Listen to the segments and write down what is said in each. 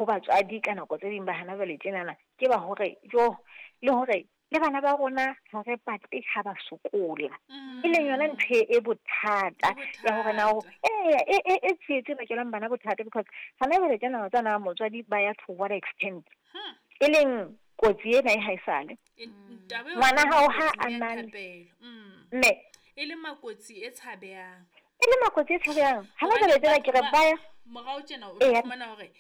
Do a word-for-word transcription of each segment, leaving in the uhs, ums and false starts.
batswadi ka nako tse ding ba hana jwale tjenana ke ba hore jo le hore le bana ba rona ha re batle ha ba sokola. E leng yona ntho e bothata ya hore na eh e e e tsietse bakelang bana bothata because hana jwale tjena tsana motswadi ba ya to what extent. E leng kotsi ena e haesale. Ngwana hao ha a na mme e le makotsi e tshabehang. E le makotsi e tshabehang. Hana jwale tjena ke re ba morao tjena o fumana hore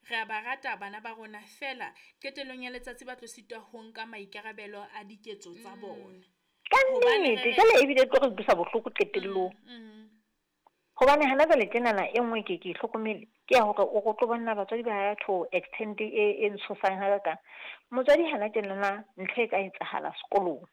re a ba rata bana ba rona fela qetellong ya letsatsi ba tlo sitwa ho nka maikarabelo a diketso tsa bona. Ka nnete jwale ebile tlo re utlwisa bohloko qetellong. Hobane hana jwale tjenana e nngwe ke ke hlokomele ke ya hore o tlo bona batswadi ba ya to extend e e ntshosang hakakang. Motswadi hana tjenana ntho e ka etsahala sekolong.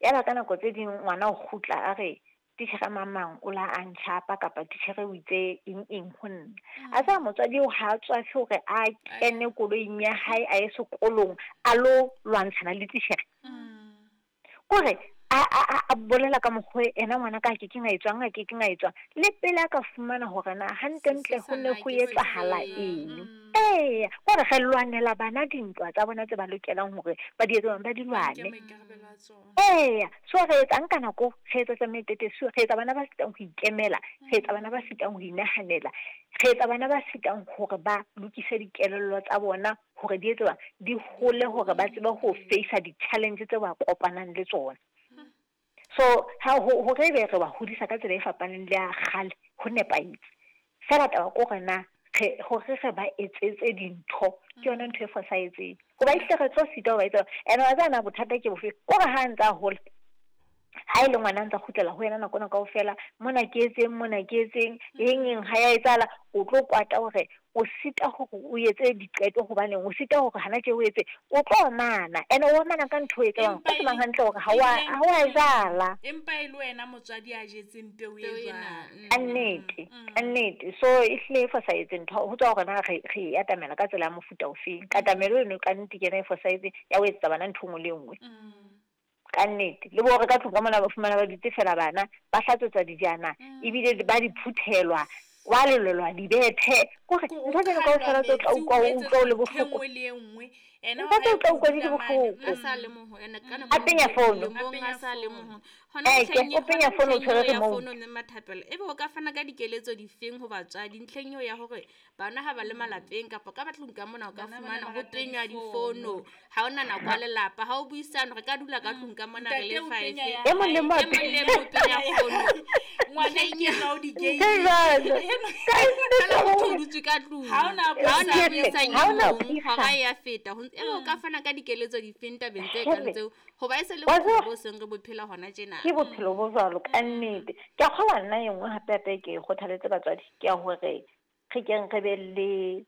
Ya ba ka nako tse ding ngwana o kgutla a re titjhere mamang o la a ntjhapa kapa titjhere o itse eng eng ho nna. A tsaya motswadi o ha tswafe hore a kene koloing ya hae a ye sekolong a lo lwantshana le titjhere. Kore a a a bolela ka mokgwa ena ngwana ka ke keng a etswang a ke keng a etswang le pele a ka fumana hore na hantlentle ho ne ho etsahala eng. Ee, kore re lwanela bana dintwa tsa bona tse ba lokelang hore ba di etse ba di lwane. Ee, so re etsang ka nako re etsa tsa meteteso, re etsa bana ba sitang ho ikemela, re etsa bana ba sitang ho inahanela, re etsa bana ba sitang hore ba lokise dikelello tsa bona hore di etse di hole hore ba tsebe ho face di-challenge tse ba kopanang le tsona. So ha ho hore be re ba hodisa ka tsela e fapaneng le ya kgale ho nepahetse. Fela taba ke hore na re hore re ba etsetse dintho ke yona ntho e fosahetseng. Hoba ehlile re tlo sita ho ba etsa. Ene wa tseba na bothata ke bofe? Kore ha ntsa hola ha ile ngwana ntsa kgutlela ho yena nako ena kaofela mona ke etseng mona ke etseng eng eng ha ya etsahala o tlo kwata hore o sita hore o etse diqeto hobane o sita hore hana tje o etse o tlo omana ene o omana ka ntho e tsebang o tsebang hantle hore ha wa ha wa jala empa e le wena motswadi a jetseng peo e jwang. Ka nnete ka nnete so ehlile e fosahetse ntho ho tswa hore na re re e atamela ka tsela ya mofuta ofeng. Katamelo eno ka nnete ke yona e fosahetseng ya ho etsetsa bana ntho e nngwe le e nngwe. Ka nnete le bo re ka tlung ka mona ba fumana ba dutse fela bana ba hlatswetsa dijana ebile ba di phuthelwa wa lelelwa dibethe kore ntho tsena kaofela tse o tla utlwa o utlwa o le bohloko ntho tse o tla utlwa di le bohloko a penya fono o penya fono o tshwere remote Mathapelo ebe o ka fana ka dikeletso difeng ho batswadi ntlheng eo ya hore bana ha ba le malapeng kapa ka batlong ka mona o ka fumana ho tenywa difono ha ona nako ya lelapa ha o buisana re ka dula ka tlung ka mona re le five e mong le mong o penya fono ngwana ke na o di game ka motho o dutse ka tlung ha ona buisana hora ya feta ebe o ka fana ka dikeletso difeng tabeng tse kang tseo hoba e se le bophelo bo seng re bophela hona tjena. Ke bophelo bo jwalo ka nnete. Ke a kgolwa nna e nngwe hape hape ke kgothaletse batswadi ke ya hore re keng re be le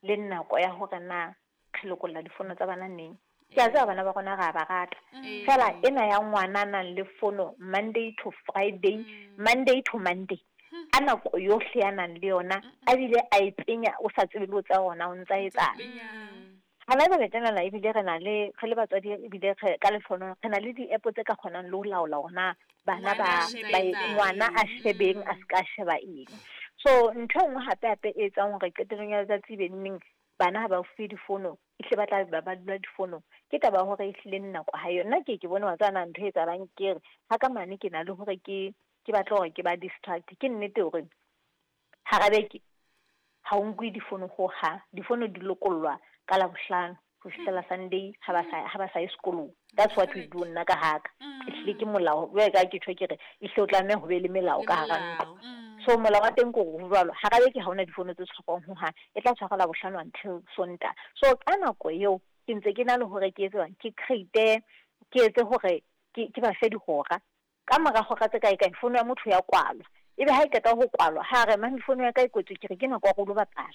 le nako ya hore na re lokolla difono tsa bana neng. Ke a tseba bana ba rona re a ba rata. Fela ena ya ngwana a nang le fono Monday to Friday, Monday to Monday. A nako yohle ya nang le yona a bile a e penya o sa tsebe le o tsa ona o ntsa etsang. Hana jwale tjenana ebile re na le re le batswadi ebile re ka lefono re na le di-app tse ka kgonang le ho laola hore bana ba ngwana a shebeng a ska sheba eng. So ntho e nngwe hape hape e etsang hore qetellong ya letsatsi be neng bana ha ba fuwe difono ehlile ba tla ba ba dula difonong ke taba ya hore ehlile nako ha yona. Nna ke ke bone wa tsana ntho e etsahalang ke re ha ka mane ke na le hore ke ke batla hore ke ba distract. Ke nnete hore hara beke ha o nkuwe difono hohang, difono di lokollwa ka Labohlano ho fihlela Sunday ha ba sa ha ba sa ye sekolong. That's what we do nna ka haka. Ehlile ke molao jwale ka ke tjho ke re ehlile o tlameha ho be le melao ka hara ntlo. So molao wa teng ke hore ho jwalo hara beke ha hona difono tse tshwarwang hohang, e tla tshwarwa Labohlano until Sontaha. So ka nako eo ke ntse ke na le hore ke etse ke create ke etse hore ke ke ba fe dihora ka mora hora tse kae kae fono ya motho ya kwalwa. Ebe ha e qeta ho kwalwa ha re mane fono ya ka e kwetswe ke re ke nako ya go lo bapala.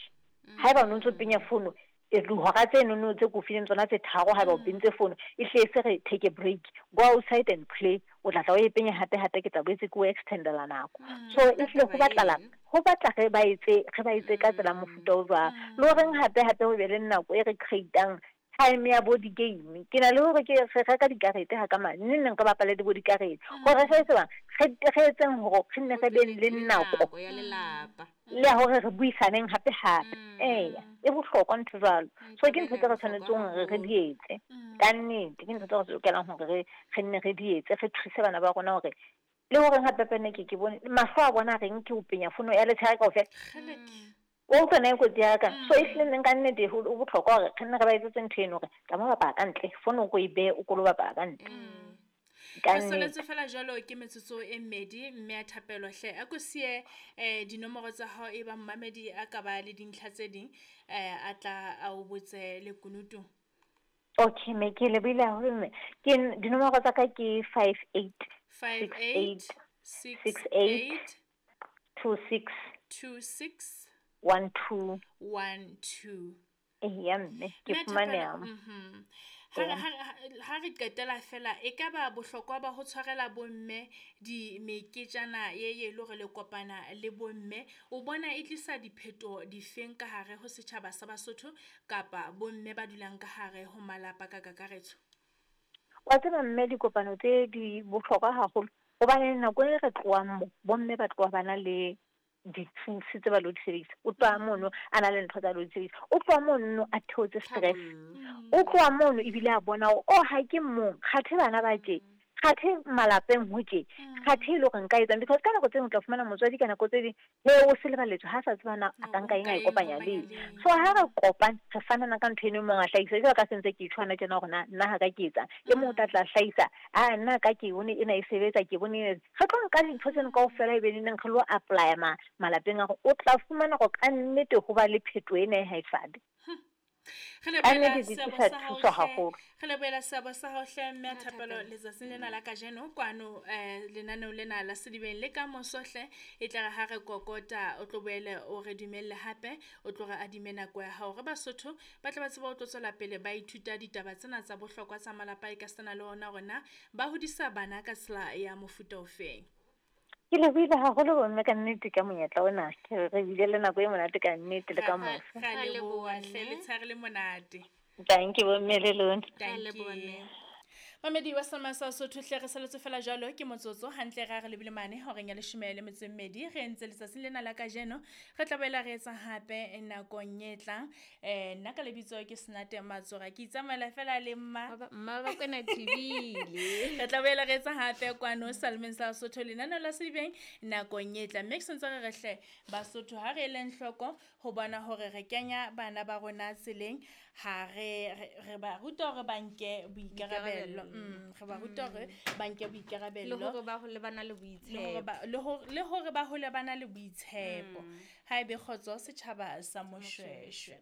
Haeba o ntso penya fono e dihora tse nono tse ko fileng tsona tse tharo haeba o pentse fono e hle se re take a break, go outside and play, o tla tla o e penya hape hape ke tla boetse ke o extendela nako. So e hle ho batlala ho batla re ba etse re ba etse ka tsela mofuta o jwang le horeng hape hape ho be le nako e re creatang Time ya bo di-game ke na le hore ke re reka dikarete ha ka mane neng neng re bapale le bo dikarete gore re etse bang re etseng hore re nne re beng le nako ya lelapa le ya hore re buisaneng hape hape. Eya e bohlokwa ntho jwalo. So ke ntho tse re tshwanetseng hore re di etse ka nnete, ke ntho tse re lokelang hore re re nne re di etse, re thuse bana ba rona hore le hore hape pene ke ke bone mahlo a bona reng ke ho penya fono ya letshehare kaofela o utlwa na e kotsi ya ka. So ehlile neng ka nnete ho bohlokwa hore re nne re ba etsetse ntho eno hore tsamaya bapala ka ntle, fono o ko e behe o ko lo bapala ka ntle. Re saletse fela jwalo ke metsotso e mmedi mme a Thapelo hle a ko siye eh dinomoro tsa hao e ba mmamedi a ka ba le dintlha tse ding eh a tla a o botse lekunutu. Okay me ke lebohile haholo mme. Ke dinomoro tsa ka ke five eight five eight six eight two six two six one two one two. Eya mme ke fumaneha. Mhm. Ha re qetela fela e ka ba bohlokwa ba ho tshwarela bomme di meketjana ye ye le hore le kopana le bomme o bona e tlisa dipheto difeng ka hare ho setjhaba sa Basotho kapa bomme ba dulang ka hare ho malapa ka kakaretso? Wa tseba mme dikopano tse di bohlokwa haholo hobane nako e re tlohang mo bomme ba tloha ba na le dithusi tse ba lo di sebedisa. O tloha mono a na le ntho tsa lo di sebedisa, o tloha mono a theotse stress, o tloha mono ebile a bona hore oh ha ke mong kgathe bana ba tje, kgathe malapeng ho tje, kgathe e le hore nka etsang. Because ka nako tse ding o tla fumana motswadi ka nako tse ding he o se lebaletswe ha sa tseba na a ka nka eng a e kopanya le eng. So ha re kopane re fanana ka ntho eno, e mong a hlahisa jwalo ka sentse ke tshwana tjena hore na nna ha ka ke etsang, e mong o tla tla hlahisa a nna ka ke bone ena e sebetsa ke bone ena. Re tlo nka dintho tseno kaofela ebe neneng re lo apply-a ma malapeng a rona. O tla fumana hore ka nnete ho ba le phetoho ena e ha e sale. Re lebohela seabo sa hao hle, re lebohela seabo sa hao hle mme a Thapelo letsatsing lena la kajeno kwano eh lenaneo lena la Sedibeng le ka moso hle e tla re ha re kokota o tlo boele o re dumelle hape o tlo re adime nako ya hao re Basotho ba tla ba tseba o tlo tswela pele ba ithuta ditaba tsena tsa bohlokwa tsa malapa e ka sena le ona hore na ba hodisa bana ka tsela ya mofuta ofeng. Ke lebohile haholo bomme ka nnete ka monyetla ona, ke re bile le nako e monate ka nnete le ka moso. Ra leboha hle, letshehare le monate. Thank you bomme le lona. Thank you. Mamedi wa Selma sa Sotho hle re saletse fela jwalo ke motsotso hantle ra re lebile mane horeng ya leshome le metso e mmedi re entse letsatsing lena la kajeno re tla boela re etsa hape nakong e tlang. Eh nna ka lebitso ke Senate Matsora ke itsamaela fela le mma mma ba kwena thibile. Re tla boela re etsa hape kwano Salmeng sa Sotho lenaneo la Sedibeng nakong e tlang. Mme ke sentse re re hle Basotho ha re eleng hloko ho bona hore re kenya bana ba rona tseleng ha re re ba ruta hore ba nke boikarabelo. Mm, re ba ruta hore ba nke boikarabelo le hore ba hole ba na le boitshepo le hore le hore ba hole ba na le boitshepo. Ha ebe kgotso setjhaba sa Moshweshwe.